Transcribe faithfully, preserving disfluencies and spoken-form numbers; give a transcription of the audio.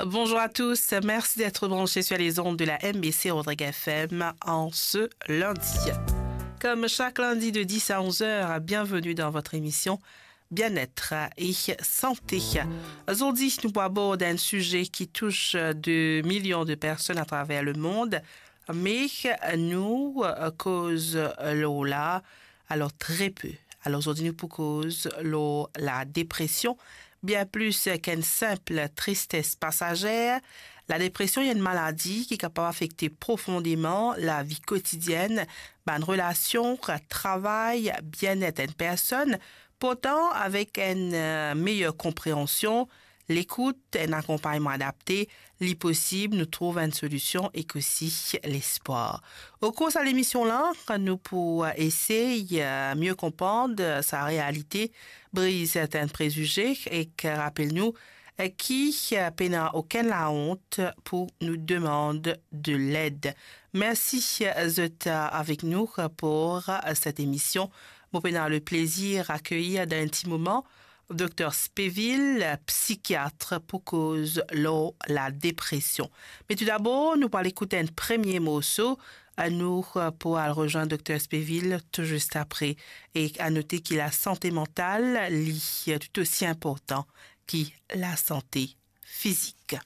Bonjour à tous, merci d'être branchés sur les ondes de la M B C Rodrigues F M en ce lundi. Comme chaque lundi de dix à onze heures, bienvenue dans votre émission Bien-être et Santé. Zordi nou pou abord enn size ki tous de milion de personn atraver lemond, me nou koz lor la, alor, tre pe. Alor zordi nou pou koz lor ladepresion, bien plis ki enn sinp tristes pasazer. Ladepresion enn maladi ki kapav afekte profondeman lavi kotidienn, bann relasion, travay, bienet enn personn. Pourtan, avek enn, eh, meyer konpreansion, lekout, enn akonpagnman adapte, li posib nou trouv enn solision ek osi lespwar. Okour sa lemision la, nou pou esey, eh, mie konpran, eh, sa realite, briz sertin prezize ek rapel nou, eh, ki, eh, pena okenn laont pou nou demann de led. Mersi, eh, zot, eh, avek nou pou, eh, set emision. Mo pena le plezir akeyir dan enn ti moman Dokter Spevil, psikiat, pou koz lor ladepresion. Me toudabor, nou pou al ekout enn premie morso. Nou pou al rezwenn Dokter Spevil tou zis apre. E a note ki lasante mantal, li tou osi inportan ki lasante fizik.